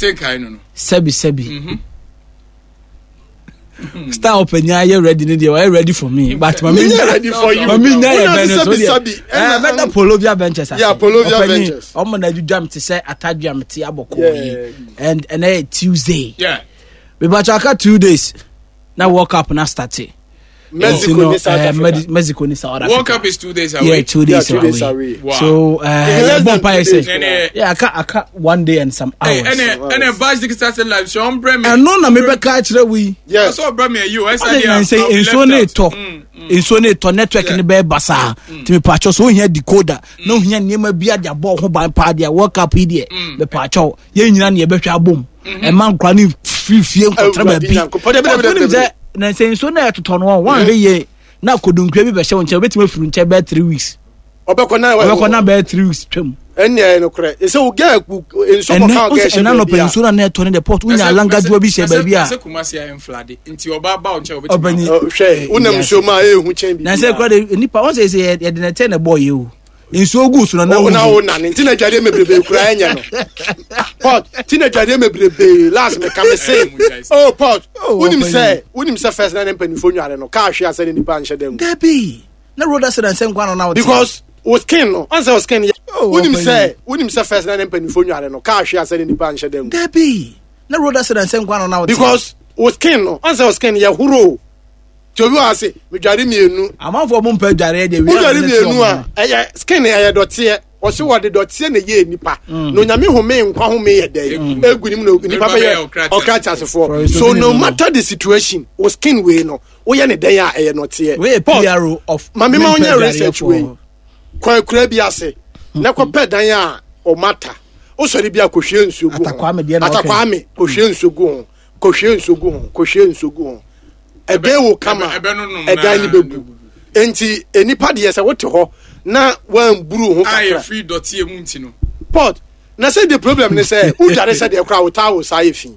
Sɛbi sɛbi. Star ɔpanyin ayɛ ready ne deɛ ɔyɛ ready for me but mami nya ready for you mami nya yɛ bɛn no so deɛ ɛɛ mɛda Polovia Ventures ase yeah Polovia Ventures ɔmo na adwidwa mi te sɛ atadwa mi te abɔkɔ yi and ɛnɛ yɛ Tuesday yeah bibatɔ aka 2 days na World Cup na start. Mexico ni South Africa. Mexico ni South Africa. World Cup is 2 days away. Yeah, 2 days, Yeah, 2 days away. away. Wow. So, Less than yeah, 2 days. say, yeah, aka one day and some hours. Hey, ɛnɛ Bash Digital Satellite sɛ ɔmbrɛ me. Ɛno na mebɛka akyerɛ wo yi. Yes. Sɛ ɔbrɛ me ayi o, ɛsɛ Ɔde deɛ nan sɛ I'll be nsuo left ne out. tɔ nsuo ne tɔ, network ne bɛyɛ basaa, nti mepaakyɛw sɛ ohia decoder na ohia nneɛma bi ade abɔ ho ban paa deɛ, World Cup yi deɛ, mepaakyɛw, yɛn nyinaa ne yɛbɛhwɛ abom. Ɛma nkora ne firi fie nkɔtara Awurade baabi. Nyankopɔn. Dabi, dabi, dabi, Wonim dabi. sɛ na sɛ nsuo no ɛtotɔ no, wɔn ahwɛ yie na kodunkua bi bɛhyɛ wo nkyɛn, wobɛtumi afiri nkyɛn bɛyɛ 3 weeks. Ɔbɛkɔ na Ɔbɛkɔ na bɛyɛ 3 weeks twam. Ɛnni ɛyɛ nokorɛ ɛsɛ wo gɛ nsuo Ɛnɛ kɔka ɔgɛ wosɛ hyɛ ɛna nɔpɛ baabi a nsuo no a na ɛtɔ ne deɛ port wonya alangadoa bi hyɛ baabi a Sɛ Kumasi ayɛ mflade nti ɔba ba wo nkyɛn obɛtumi. Ɔbɛnyi. Ɔ, hwɛ, wonam nsuo mu a ɛyɛ hu kyɛn Na sɛ kura de nipa wɔn sɛ sɛ yɛde na ɛtɛ na ɛbɔ yɛ o, nsuo gu so na na wo na wugu. wo nane nti na adwadeɛ mebrebe kura ɛnyɛ no port nti na adwadeɛ mebrebe last meka me se oh port. Oh, wonim ɔpanyin. Sɛ wonim sɛ first na ne mpanimfoɔ nware no kaa hwe asɛ ne nipa nhyɛ da mu. Dabi, na road accident sɛ nkwa na na wote. Because wo skin no ɔn sɛ wo skin yɛ Oh, wonim ɔpanyin. sɛ wonim sɛ first na ne mpanimfoɔ nware no kaa hwe asɛ ne nipa nhyɛ da mu. Dabi, na road accident sɛ nkwa na na wote. Because wo skin no ɔn sɛ wo skin yɛ horo tí obi wɔ ase medware mmienu. Amanfoɔ mo mpɛ adwareɛ deɛ. Wodware mmienu a, ɛyɛ skin, ɛyɛ dɔteɛ. Ɔsi wɔde dɔteɛ na ɛyɛ nipa na Onyame home nkwa home yɛ dɛ egu ne mu na nipa bɛyɛ ɔkra kyasefoɔ. So no matter the situation, wo skin wei no, woyɛ ne dɛn a, ɛyɛ nɔteɛ. Wei yɛ PRO of Maame ma mempɛ wonyɛ research adwareɛfoɔ. Wei kɔ akura bi ase na kɔpɛ dan a ɔmata wosɔre bi a, kɔhwie nsuo gu ho. Atakwame deɛ na ɔka yi. Atakwame, kɔhwie nsuo gu ho, kɔhwie nsuo gu ho, kɔhwie nsuo gu ho, ɛbɛn wo kama. Ɛbɛ no nom ɛdan na no bɛbu. Nti nipa deɛ, sɛ wote hɔ na wamburu ho a kakra yɛfiri dɔteɛ mu nti no. Pot na sɛ the problem ne sɛ wodware sɛ deɛ koraa wo towel saa yɛ fi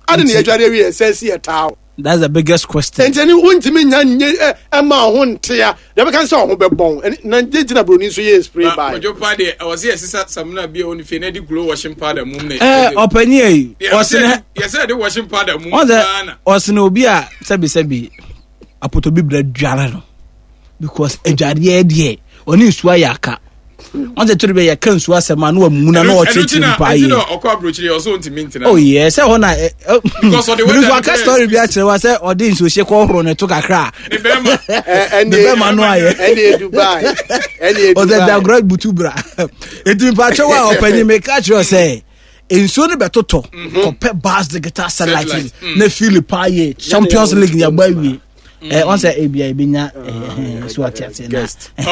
ade ne yɛdware awie sɛ si yɛ towel. That's the biggest question. Nti ɛne wontumi nya nye ɛ ɛma wo ho ntea deɛ bɛka sɛ ɔho bɛbɔn ɛne na gye gyina buroni nso yɛ spray Ba by. Kwadwo pa deɛ, ɛwɔ sɛ yɛsesa samina bi a ɛwɔ ne fie na ɛde glow washing powder mum na Ɔpanyin yi ɔsene yɛsɛ yɛde washing powder mum ɔsɛ paa na ɔsene obi a sɛbi sɛbi apotɔ bi brɛ dware no because adwareɛ deɛ, ɔne nsuo ayɛ aka. Wɔn sɛ toro bi yɛ ka nsuo asɛm a na wamuna na ɔkyerɛkyerɛ nipa Ɛno ayɛ. nti na ɔkɔ aburokyire, ɔsɛ ɔntumi ntena. Oh yeah, sɛ hɔ na ɛ ɛ Because ɔde bibi weather nso no aka bɛyɛ story bi akyerɛ wa sɛ ɔde nsuo hyɛ kɔ ɔhoro ne to kakra a ne bɛrima. Ɛne ne bɛrima no ayɛ. Ɛne Dubai, ɛne ɔsɛ Dubai. Dagorɔ butu bra. Eti mpakyɛw a ɔpanyin, meka kyerɛ sɛ nsuo no bɛtotɔ, kɔpɛ Bas Digital Satellite Satellite, na fili paa yɛ Champions League ni abɔ awie. Ɛ wɔn sɛ ebi a ebi nya ɛ so ate ase na.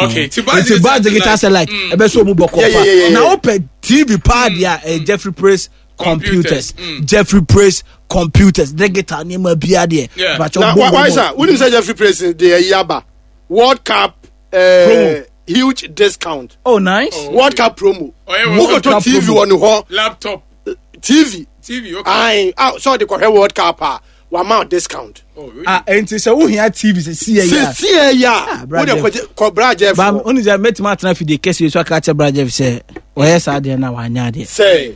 Okay, ti Bas nti Bas Digital Satellite ɛbɛ so ɔmu bɔ kɔ pa na wopɛ TV paa deɛ a, ɛyɛ Jeffrey Praise Computers. Jeffrey Praise Computers, digital nneɛma bia deɛ. Mpakyɛw, Na bɔ wa bɔ wa bɔ. sa wonim sɛ Jeffrey Praise de ayi aba, World Cup Promo. Huge discount. Oh, nice. Oh. World Cup promo. Ɔyɛ World wokɔtɔ Cup TV promo. wɔ ne hɔ. Laptop. TV. TV, okay. Ae, ah, sɛ ɔde kɔhwɛ World Cup a, wama wo discount. Oh, really? Ah, nti sɛ wohia TV sɛ sie yɛ a, sɛsie yɛ a, Ah, Bra wode Jeff. kɔgye kɔ Bra Jeff Ba hɔ. onu sɛ mɛtumi atena fidie kɛseɛ so aka kyerɛ Bra Jeff sɛ ɔyɛ saa deɛ na wanyɛ adeɛ. Sɛ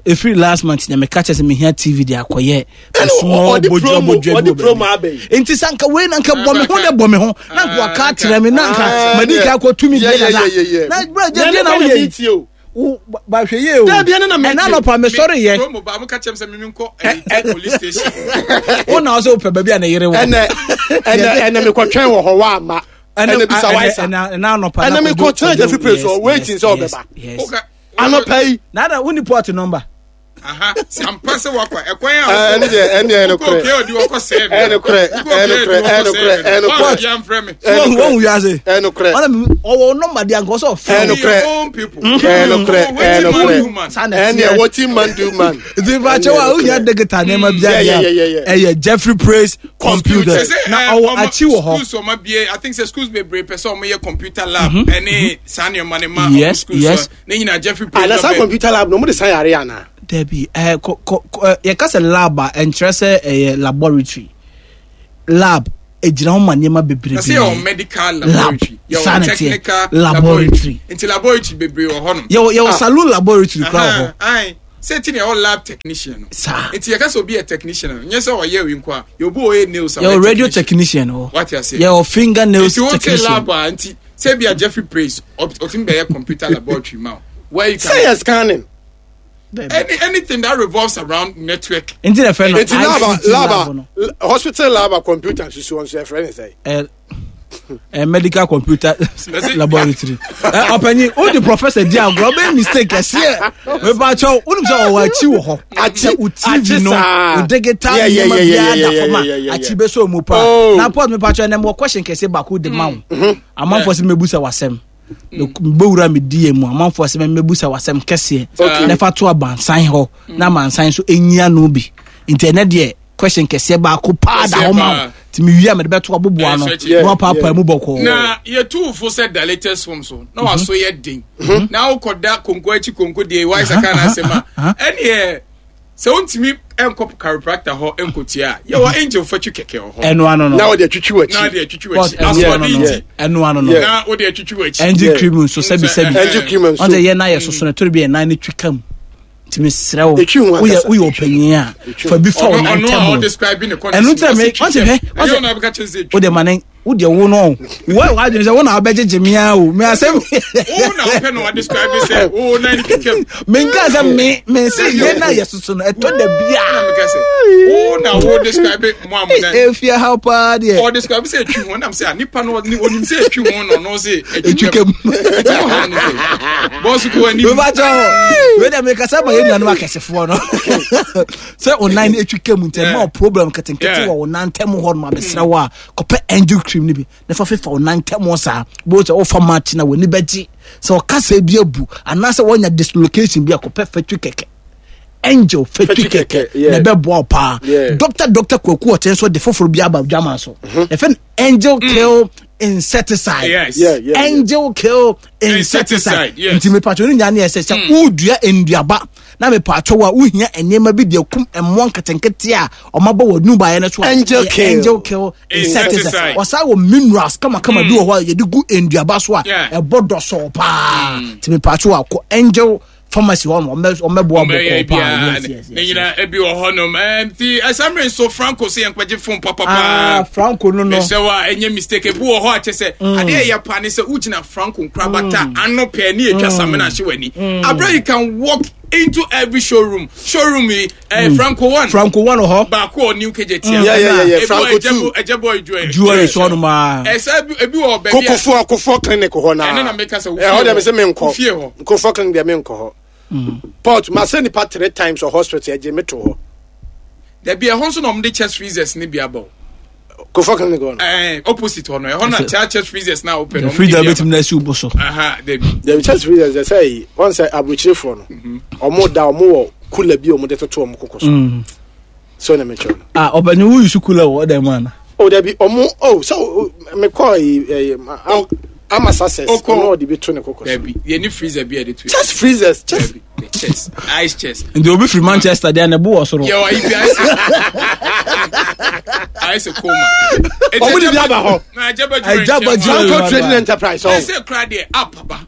ɛfiri last month na meka kyerɛ sɛ mehia TV de akɔyɛ Ɛna small ɔde bodwa promo- bodwa bi ɔde wɔ promo baabi. aba yi. Nti sɛ anka wei na anka bɔ me ho ne bɔ me ho na anka waka akyerɛ me na anka Ah, madi yeah. ka akɔtumi Yeah, deɛ yeah, dada yeah, yeah, yeah. na Bra Jeff Na deɛ ne na kɔ na woyɛ yi. meetie o. Wo bahwɛ yie o. Dabi, ɛno na metie. Ɛna anɔpa mesɔre yɛ. Promo ba mo ka kyerɛ m sɛ mimi nkɔ ɛyi police station. Wo na ɔsɛ wopɛ baabi a ne yere wɔ. Ɛnɛ mekɔtwɛn wɔ hɔ wa ama ɛnɛ bisa waisa. Ɛna anɔpa Ɛnɛ mekɔtwɛn Jeffrey Praise hɔ waiting sɛ ɔbɛba. Yes. Woka- Anɔpa yi. Na woni port number. Aha, sampa sɛ wakɔ ɛkwan a Ɛne deɛ, ɛne deɛ, ɛne korɛ. wokɔ odi wɔkɔ sɛɛ mi. Ɛne korɛ, ɛne korɛ, ɛne korɛ, ɛne korɛ. Yɛmfrɛ me. Ɛne Wɔn korɛ. wɔn wiase. Ɛne korɛ. Ɔna mi ɔwɔ number deɛ anka ɔsɛ ɔfrɛ. Ɛne korɛ. Your own people. Ɛne korɛ, ɛne Wetin man korɛ. do man. Saa na Ɛne ɛteɛ. wetin man do man. Nti mpakyɛw a wohia digital nneɛma bi Yeah, yeah, yeah, yeah, adeɛ a, ɛyɛ Jeffrey Praise Computers. Sɛ, Na eh, ɔwɔ ɔmo- akyi wɔ hɔ. Schools ɔmo abie, I think sɛ schools bebree pɛ sɛ ɔmo yɛ computer lab ɛne saa nneɛma ne ma ɔmo schools no. Ne nyinaa Jeffrey Praise. Ah, na saa ɔbɛ- computer lab no, ɔmo de san yare ana? Dabi, ɛɛ kɔ kɔ kɔ ɛ, yɛka sɛ lab a, ɛnkyerɛ sɛ ɛyɛ laboratory lab. Egyina hɔ ma nneɛma bebree. Na sɛ yɛwɔ medical laboratory, Saa yɛwɔ na ɛteɛ. technical Laboratory. laboratory, nti laboratory bebree wɔ hɔnom. Yɛwɔ Ah. saloon laboratory kora wɔ hɔ. Aye. Sɛ ti na ɛwɔ lab technician no. Saa. Nti yɛka sɛ obi yɛ technician no, nyɛ sɛ ɔyɛ wi nko a, yɛ obi ɔyɛ nails a Yɛwɔ radio technician wɔ. Wate ase. Yɛwɔ finger nails Nti wote technician. lab a nti sɛ bi a Jeffrey Praise ɔtumi bɛyɛ computer laboratory ma wo. Where you Sɛ can yɛ scanning. any anything that revolves around network. Nti na ɛfɛ no Eti lab ICT a lab lab no. a hospital lab a computer susu wɔn so yɛfrɛ ne sɛ. Eh, eh, medical computer laboratory. Eh, ɔpanyin o di professor di agorɔ ɔbɛyɛ mistake kɛseɛ mepakyɛw wonim sɛ ɔwɔ akyi wɔ hɔ Akyi, Sɛ wo tv akyi no saa. wo digital Yeah, yeah, nneɛma yeah, biara yeah, da yeah, fam yeah, a yeah, yeah. akyi bɛsɔ mu paa Oh. na port mepakyɛw ɛnɛ mewɔ question kɛseɛ baako de ma wo amanfoɔ sɛ mɛbusa w'asɛm mebɛwura me die mu amanfoɔ sɛ mɛbusa w'asɛm kɛseɛ Okay. na fa to abansan hɔ na amansan nso ɛnyia no bi nti ɛnɛ deɛ question kɛseɛ baako paa da hɔ ma wo Kɛseɛ paa. nti mewie a mede bɛto aboboa no Ɛso akyi. na wapaapaa mu bɔkɔɔ Na yɛtu fo sɛ da latest form so na waso yɛ den. Na wokɔda konko akyi konko deɛ wayɛ sɛ ka na asɛm a ɛneɛ sɛ wontumi nkɔ chiropractor hɔ nkɔtua a yɛwɔ angel fatwi kɛkɛ wɔ hɔ. ɛno ano no Na wɔde atwitwi Na w'akyi. wode atwitwi Port w'akyi. ɛno ano Asoɔden no nti ɛno ano no Yeah. na wode atwitwi w'akyi. engine Yeah. cream nso sɛbi sɛbi Engine cream nso. ɔn sɛ yɛn nan yɛ soso no ɛtɔre bi yɛn nan no twi kam nti mesrɛ wo Ɛtwi ho woyɛ ankasa. woyɛ ɔpanyin a fa bi fa wo Ɔno nan ɔno a ntam ɔdescribe ne condition. Ɛno nti na me- ɔse twitwi ɔse hwɛ, am. ɔse- Ɛnyɛ ɔno a bɛka kyerɛ sɛ wo de ma ne wo deɛ wo no wo w'adwene sɛ wo na wabɛgyegye me a o me asɛm Wo na wopɛ na wadescribe sɛ wo nan no twitwam. menka sɛ me me se yɛn nan yɛ soso no ɛtɔ da Na bia meka sɛ wo na wo describe mo a mo nan efie ha paa deɛ ɔdescribe sɛ etwi ho nam sɛ a nipa no ɔni- onim sɛ etwi ho na ɔno sɛ etwi kam Ɛti mo ha no sɛ bɔs ko anim. mebakyɛ hɔ wei deɛ mekasa ma yɛn nuanom akɛsefoɔ no sɛ wo nan no ɛtwi ka mu nti ɛma wo problem nketenkete Yeah. wɔ wo nan ntam hɔ nom abɛsrɛ wo a kɔpɛ angel cream no bi na fa fefa wo nan ntam hɔ saa bɛhu sɛ wofa match na w'ani bɛgye sɛ ɔkasa bi abu anaasɛ woanya dislocation bi a kɔpɛ fatwi kɛkɛ angel fatwi Fatwi kɛkɛ kɛkɛ, yeah. na ɛbɛboa wo paa Yeah. dr dr kwaku ɔkyɛn so de foforɔ bi aba dwama so yɛfɛ no angel kill insecticide Yes. Yeah, yeah, yeah. angel kill insecticide Insecticide, yes. nti mepatwo no nyinaa ne ɛsɛ sɛ wodua nnuaba na mepatwo a wohia nneɛma bi de akum mmoa nketenkete a ɔmabɔ wɔ nubaeɛ no so a Angel ɛyɛ kill. angel kill insecticide Insecticide. ɔsan wɔ minerals kamakama bi wɔ hɔ a yɛde gu nnuaba so a Yeah. ɛbɔ dɔsɔɔ paa nti mepatwo a kɔ angel pharmacy hɔ no ɔmɛboa Ɔmɛyɛ bɔkɔɔ paa biara yes yes ne yes nyinaa ebi wɔ hɔnom nti ɛsamere nso Franco sɛ yɛnkɔgye phone ah papapaa Franco no no mesɛ wa ɛnyɛ mistake ebi wɔ hɔ a kyɛ sɛ adeɛ ɛyɛ paa ne sɛ wogyina Franco nkorabata ano pɛɛ ne yɛtwa samina ahye w'ani aberɛ you can walk into every showroom showroom yi Franco one Franco one wɔ hɔ baako wɔ new KJT Yeah, yeah, yeah, yeah. Franco two. ɛgyɛbɔ jewelry jewelry so hɔ nom a ɛsɛ ebi wɔ baabi a Kofoɔ Kofoɔ clinic hɔ naa. Ɛno na meka sɛ wo Ɛhɔ fie deɛ hɔ. me sɛ menkɔ. Wo fie hɔ. Kofoɔ clinic deɛ menkɔ hɔ. Port ma sɛ nipa three times wɔ hospital ɛgye me to hɔ. Dabi ɛhɔ nso na ɔmo de chest freezers ne bi aba o. Kofoɔ clinic hɔ no. Ɛɛ opposite hɔ no ɛhɔ na kyɛ chest freezers na wopɛ no. ɔmo de freezer bi aba. bɛtumi na asi wo bo so Aha dabi. Dabi chest freezers deɛ sɛ yi wɔn sɛ aburokyerefoɔ no. Ɔmo da ɔmo wɔ cooler bi a ɔmo de toto ɔmo koko so. So na mekyerɛ no. ah ɔbɛnyi wo yusu kula wɔ ɔdan mu ana O dabi ɔmo o sɛ o mekɔ yi ɛyɛ ama success Okɔ. ɔno ɔde bi to ne koko so. Dabi yɛ ni freezer bi a yɛde to. Chest freezers chest. Dabi the chest ice chest. nti obi firi manchester deɛ ne bo wɔ soro Yɛ wɔ ayi bi ice. Ice coma. Ɔmo de bi aba hɔ. Na ɛgyaba jewelry. Ɛgyaba nkyɛn hɔ. jewelry. Franco Trading Enterprise ɔn. Ɛsɛ kura deɛ app aba.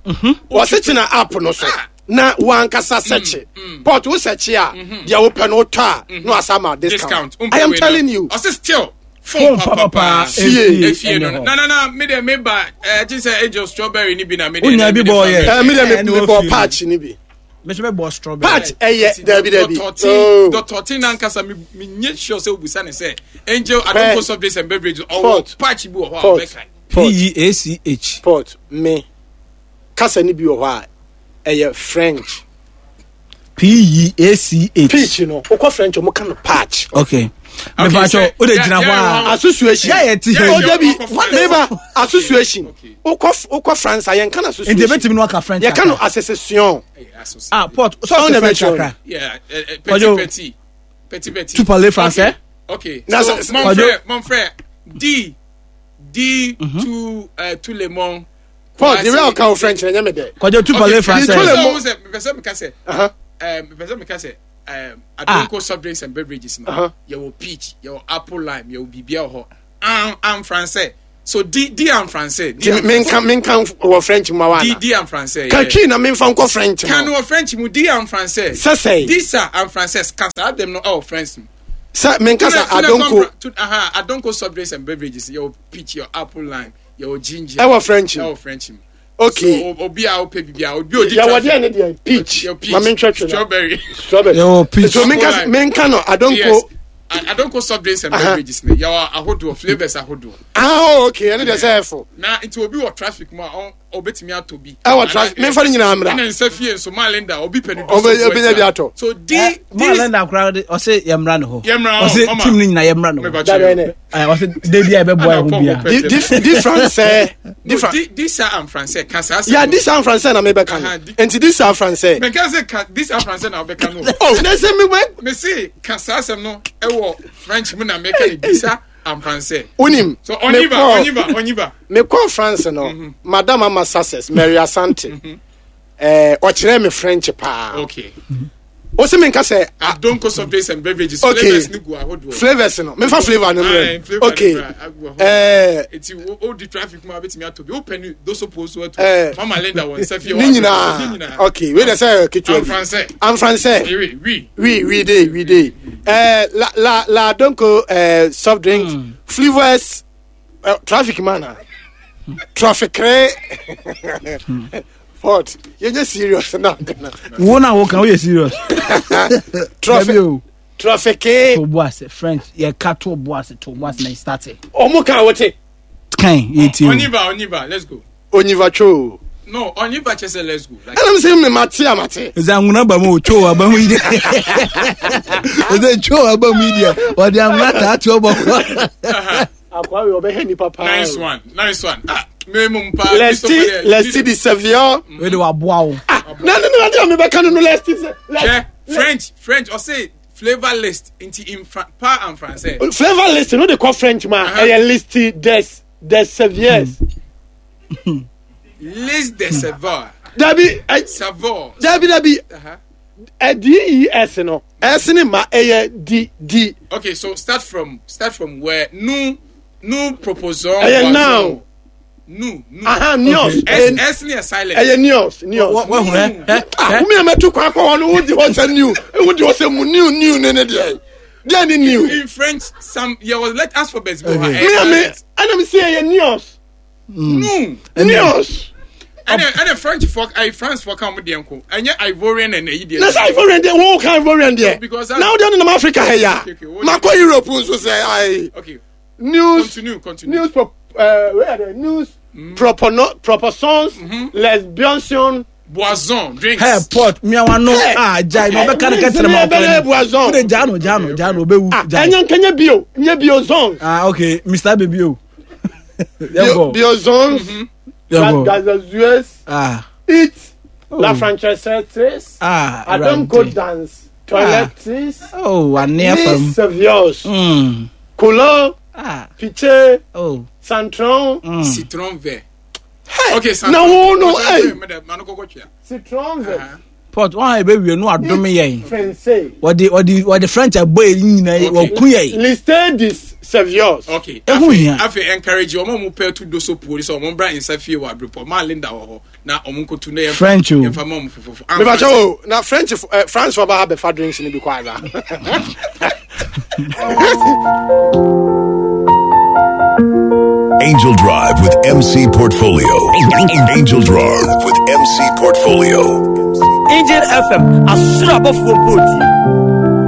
Wɔsi tena app no so Ah. na wankasa sɛkye port wo sɛkye a deɛ wopɛ no wotɔ a na wasa ma discount. Discount. I am telling you. Ɔsɛ still. Phone Phone papapa. papapa. Fie. Efie no. Ɛne hɔ. Na na na mi de mi ba ɛɛ ti sɛ angel strawberry ni bi na mi de. Wonya bi bɔ yɛ. Ɛɛ mi deɛ Ɛne mi wɔ bɔ fie. patch ni bi. mɛsɛ bɛ bɔ strawberry Patch ɛyɛ dabi dabi. Oh. Dɔtɔtin nankasa mi mi nye sure sɛ obusa ne sɛ angel adonko soft drinks and beverage ɔwɔ Port. patch bi wɔ hɔ a Port. ɔbɛka. Port. p-e-a-c-h Port me kasa ni bi wɔ hɔ a ɛyɛ French. p-e-a-c-h Peach no wokɔ French ɔmo ka no patch. okay Okay, mepatwɔ sɛ- wode yeah, gyina hɔ yeah, a Association. Yeah, yeah, ti- Oh, yeah, dabi yeah. meba association. Okay. Wokɔ wokɔ France a yɛnka no nti association. ebɛtumi no aka french Yɛka no kakra. association. ah port so Ɔno ɔsɛ na french ɛbɛkyerɛ kakra Yeah, petit Kwadwo. petit petit petit. Tu parles français? Okay. Na So sɛ- mon Kwadwo. frère, mon frère, dis dis tout tout le monde. Port the real ka wo French na nyɛ me dɛ. kwadwo tu parles Tout le français monde. Mepɛ sɛ meka sɛ Uh-huh. mepɛ sɛ meka sɛ Adonko soft drinks and beverages no Uh-huh. yɛwɔ peach, yɛwɔ apple lime, yɛwɔ biribiara wɔ hɔ. En en français. So di di en français. Di menka menka wɔ French mu wa na. Di di en français. Ka twi na menfa nkɔ French mu. Kan wɔ French mu di en français. Sɛsɛe. Di sa en français ka saa dem no ɛwɔ French mu. Sɛ menka sa adonko. Aha adonko soft drinks and beverages yɛ peach yɛ apple lime yɛ ginger. Ɛwɔ French mu. Ɛwɔ French mu. Okay. So obi a wopɛ bibi a obi odi traffic. Yɛwɔ deɛ ne deɛ peach. Ma mentwɛtwɛ. Strawberry. Strawberry. Yɛwɔ peach. So menka menka no adonko. Yes. Adonko soft drinks and beverages ne yɛwɔ ahodoɔ flavours ahodoɔ. Ah oh, okay ɛne deɛ sɛ ɛfo. Na nti obi wɔ traffic mu a ɔbɛtumi atɔ bi. Ɛwɔ traffic menfa ne nyinaa mmra. Ɛna nsa fie nso maa Linda obi pɛ ne do so. Ɔbɛnya bi atɔ. So di di. Maa Linda koraa ɔsɛ yɛ mmra ne hɔ. Yɛ mmra hɔ. Ɔsɛ team ne nyinaa yɛ mmra ne hɔ. Ɔsɛ debi a ɛbɛboa ɛho bia. Di français. Di di sa en français ka saa. Ya di sa en français na mebɛka no. Nti di sa français. Mɛka sɛ ka di sa français na wobɛka no. Oh, na sɛ mi wɛ. Me se ka saa asɛm no ɛwɔ French mu na mɛka ne di sa en français. Wonim. So oniba oniba oniba. Mekɔ France no, Madam Ama Success, Mary Asante. Eh, ɔkyerɛ me French paa. Okay. O se menka sɛ. Adonko soft drinks and beverages. Okay. Flavors ni gu ahodoɔ. Flavors no. Memfa flavor no mmerɛ. Okay. Eh. Eti o di traffic mu a betumi atɔ bi. O pɛ ni doso po so ato. Eh. Mama Linda wɔ nsa fie. Ne nyinaa. Okay. Wei de sɛ ketewa bi. En français. En français. Oui, oui. Oui, oui de, oui de. Eh, la la la adonko eh, soft drinks. Flavors. Eh, traffic man ah. Traffic. What? Yɛnyɛ serious na. Wo na wo kan woyɛ serious. Traffic. Traffic. To bo ase French yɛ ka to bo ase to bo ase na start. Ɔmo kan wote. Kan yɛ ti o. Oniva oniva let's go. Oniva cho. No oniva kyɛ sɛ let's go. Ɛna mi sɛ mi ma te a ma te. Ɛsɛ anwona ba mu o cho aba mu yi deɛ. Ɛsɛ cho aba mu yi deɛ ɔde anwona taa to ɔbɔ kɔ. Akwa wei ɔbɛhɛ nipa paa. Nice one nice one ah me mu paa. Lesti lesti di Sevilla. Wei de waboa wo. Ah na ne na de a mebɛka no no lesti sɛ. Hwɛ French French ɔse flavour list nti in Fra pa and français. Flavour list no de kɔ French ma ɛyɛ listi des des Seviers. List des saveurs. Dabi. Saveur. Dabi dabi. D E S no S ne ma ɛyɛ D D. Okay, so start from start from where nu nu proposons. Ɛyɛ noun. Nu nu. Aha neos. S S ne yɛ silent. Ɛyɛ neos neos. Wahun ɛ ɛ. Ah, wumi a mɛtu kwan kɔ hɔ no wodi hɔ sɛ new wodi hɔ sɛ mu new new ne ne deɛ deɛ ne new. In French some yɛ wɔ let alphabets bi wɔ ha. Mi a mi ɛna mi si ɛyɛ neos. Nu. Neos. Ɛnɛ ɛnɛ French fɔ ayi France fɔ kan mo deɛ nko ɛnyɛ Ivorian ɛna ɛyi deɛ. Na sɛ Ivorian deɛ wɔn kan Ivorian deɛ. Because na o deɛ nenam Africa ha ya. Ma kɔ Europe nso sɛ ayi. Okay. News. Continue continue. News pro where are the news. Propono proposons lesbian. Boisson drinks. Hey pot miawa no ah jai na ɔbɛka ne kɛtɛrɛ ma ɔkɔ boisson. O de jaa no jaa no jaa no ɔbɛwu. Ah ɛnyɛ nkɛnyɛ bio nyɛ bio zone. Ah okay Mr Baby o. Bio zones. Gazazues. Ah. Eat. Oh. La Francesettes. Ah. I don't go dance. Toilettes. Oh, ane afam. Miss Saviors. Couleur. Ah. Piche. Oh. Santron. Citron vert. Hey. Okay, Santron. Na wo no, hey. Citron vert. Pot wɔn a ebe wie no adome yɛn. Français. Wɔde wɔde wɔde French abɔ yɛn nyinaa yi wɔku yɛn. Liste des Saviors. Okay. Ehu hia. Afei encourage wɔn a wɔn pɛ tu doso puo sɛ wɔn bra nsa fie wɔ abiripɔ maa Linda wɔ hɔ na wɔn nkotu na yɛn French o. yɛn fa ma wɔn fofofo. Mebakyɛ o na French France fo ba ha bɛfa drinks ni bi kɔ ara. Angel Drive with MC Portfolio. Angel Drive with MC Portfolio. Angel FM, asoro abɔfoɔ mpo tie.